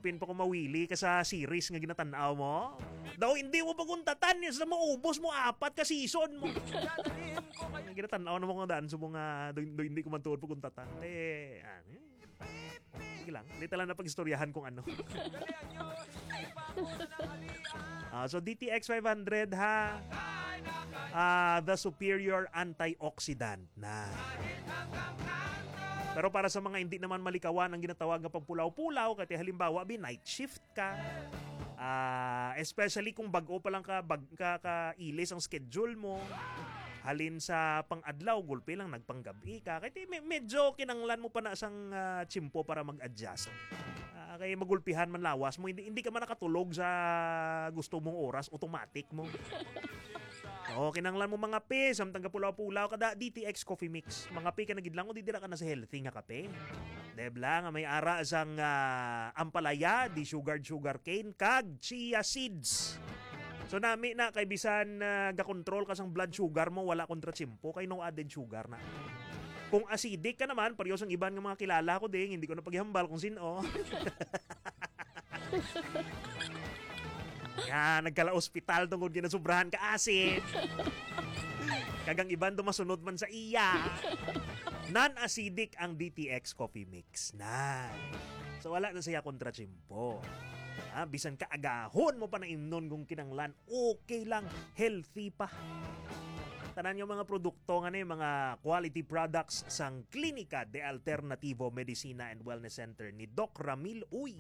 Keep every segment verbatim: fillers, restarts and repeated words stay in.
Pin pa ko mawili ka sa series nga ginatan-aw mo. Daw hindi mo paguntatan niya sa maubos mo apat ka season mo. Ang ginatan-aw na mo kung daan sa mga do, do, hindi ko man tuod paguntatan. Eh, ah, eh. Sige lang, hindi talang na pag-istoryahan kung ano. Ah, so D T X five hundred ha, ah, the superior antioxidant na. Pero para sa mga hindi naman malikawan ang ginatawag nga pagpulaw-pulaw, kay halimbawa, bi night shift ka. Ah, especially kung bag-o pa lang ka, bag, ka, ka ilis ang schedule mo. Halin sa pang-adlaw, gulpi lang nagpanggabi ka. Kay ti-, me-, medyo kinanglan mo pa na sang, ah, tiyempo para mag-adjust. Ah, kay magulpihan man lawas mo, hindi, hindi ka man nakatulog sa gusto mong oras, automatic mo. Oo, kinanglan mo mga pe, samtang kapulaw-pulaw ka da, D T X Coffee Mix. Mga pe ka na gid lang, o di dira ka na sa healthy nga kape. Debla nga may ara sang, ah, ampalaya, di sugar, sugar cane, kag chia seeds. So nami na kay bisan, ah, gakontrol ka sang blood sugar mo, wala kontra tiyempo kay no added sugar na. Kung acidic ka naman, pareho sang iban nga mga kilala ko ding, hindi ko na paghihambal kung sino. Nga nagkala-ospital tungod ginasubrahan ka acid. Kag ang iban dumasunod man sa iya. Non-acidic ang D T X Coffee Mix. Na. So wala na siya kontra tiyempo. Ah, bisan ka agahon mo pa na imnon kung kinanglan, okay lang, healthy pa. Tanan nga mga produkto nga ni, mga quality products sang Klinika de Alternativo Medicina and Wellness Center ni Doc Ramil Uy.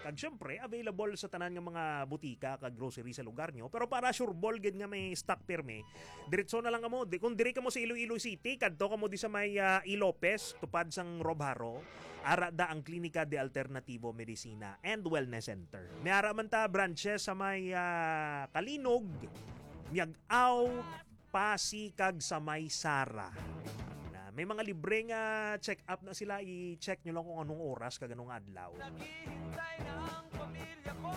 Kag syempre, available sa tanan nga mga butika kag grocery sa lugar nyo. Pero para sure ball gid nga may stock pirmi, diretso na lang kamo. Di, kung diri kamo sa Iloilo City, kadto kamo di sa may, ah, E. Lopez, tupad sang Robharo. Ara da ang Klinika de Alternativo Medicina and Wellness Center. May ara man ta branches sa may, ah, Kalinog, Miag-ao, Pasi, kag sa may Sara. Na, may mga libre nga check-up na sila. I-check nyo lang kung anong oras kag anong adlaw. Naghihintay na ang pamilya ko.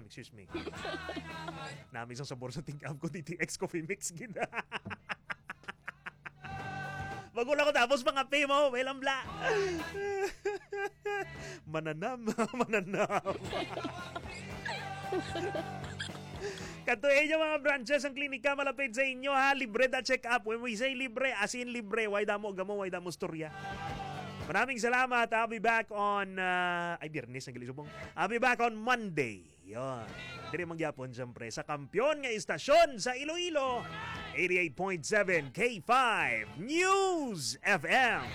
Excuse me. Nami sang sabor sa tingkap ko, D T X Coffee Mix gid. Bago lang ko tapos mga pay mo, may lambla. Mananam, mananam. Kadto inyo mga branches ang klinika malapit sa inyo, ha. Libre da check-up. When we say libre, as in libre. Way damo gamo, way damo storya. Maraming salamat. I'll be back on, uh, ay, Biyernes, ang gilisubong. I'll be back on Monday. Yon. Diri man gyapon, siyempre, sa kampiyon nga istasyon sa Iloilo, eighty-eight point seven K five News F M.